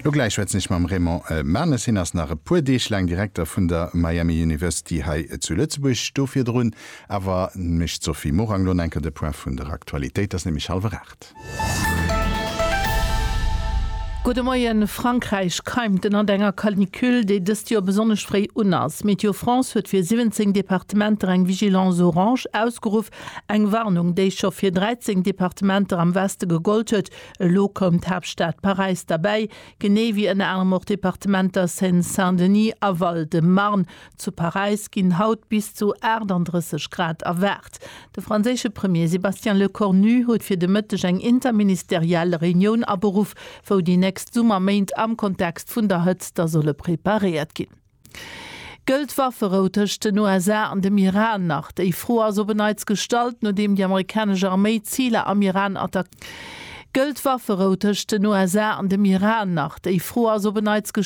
Lo gläich schwätzen ech mam Raymond Manes. Hien ass nach e puer Deeg laang Direkter vun der Miami University hei zu Lëtzebuerg. Do virdrun awer mécht d'Sophie Morang lo enker de Point vun der Aktualitéit. Et ass nämlech hallwer 8. Gudde Moien. Frankräich keimt ënnert enger Canicule, déi dëst Joer besonnesch fréi un ass. Météo France huet fir 17 Departementer eng Vigilance orange ausgeruff, eng Warnung, déi scho fir 13 Departementer am Weste gegollt huet. Elo koum d'Haaptstad Paräis derbäi, genee wéi ënner anerem och d'Departementer Seine-Saint-Denis a Val-de-Marne. Zu Paräis ginn haut bis zu 38 Grad erwaart. De franséische Premier Sébastien Lecornu huet fir de Mëtteg eng interministeriell Reunioun aberuff, wou déi nächst Summerméint am Kontext vun der Hëtzt da solle preparéiert ginn. Gëllt d'Wafferou tëscht den USA an dem Iran nach? Déi Fro ass op en Neits gestallt, nodeem déi amerikanesch Arméi Ziler am Iran attack. Gëllt d'Wafferou tëscht den USA an dem Iran nach? Déi Fro ass op en Neits gestallt.